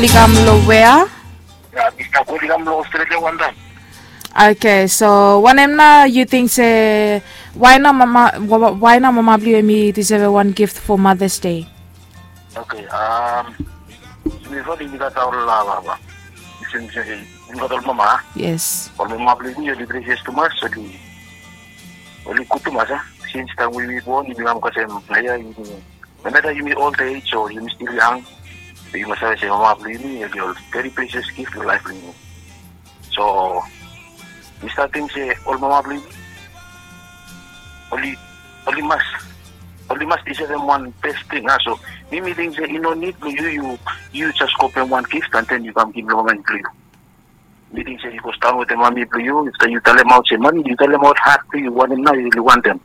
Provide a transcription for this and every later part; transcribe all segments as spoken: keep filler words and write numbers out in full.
Oli kam long wea? Ya, mi stap oli kam long Australia wan taim. Okay, so wanem nao yu ting se why nao mama, why nao mama blong yu hemi deserve wan gift for Mother's Day? Okay, um, mi fo mi gat ol, uh, baba. Since, uh, mi gat ol mama. Yes. Ol mama blong yumi oli precious tumas, oli, oli gud tumas, a. Since taim we yumi born, yumi kam kasem, ya, yumi, no matter yumi old age o yumi still young, yu mas save se mama blong yumi oli ol very precious gift long laef blong yumi. So mi stap ting se ol mama blong yumi oli, oli mas, oli mas disevem wan best ting, a. So mi, mi ting se i no nid blong yu, yu, yu jes kopem wan gift and then yu kam givim long mama blong yu. Mi ting se yu go sidaon wetem mami blong yu, afta yu talemaot se mami, yu talemaot hat blong yu, wanem nao yu oli wantem.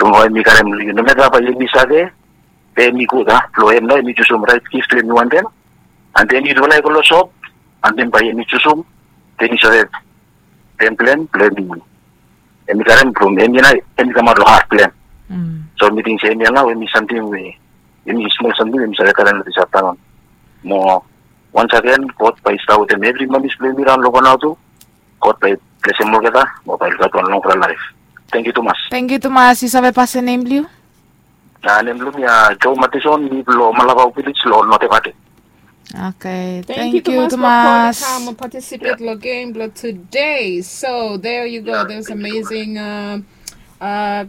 Long wanem mi karem long yu, no matter bae yumi save, be hemi gud, a, blong hem nao hemi jusum raet gift we hemi wantem. And then yutufala i go long sop, and then bae hemi jusum, then i save, then plen blong hemi, hemi karem from hemi nao, hemi kamaot long hat blong hem. So mi ting se hemia nao hemi samting we, hemi smol samting we mi save talem long this afternoon. Mo once again, God bae i stap wetem evri mamis blong yumi raon long Vanuatu. God bae i blesem olgeta mo bae i gat wan longfala laef. Tangkiu tumas. Tangkiu tumas. Yu save pasim nem blong yu? A, nem blong mi, a, Joe Matheson, mi blong Malakau Village long North Evate. Okay, tangkiu tumas. Kam participate long game blong today. So there you go. There's amazing, uh, uh,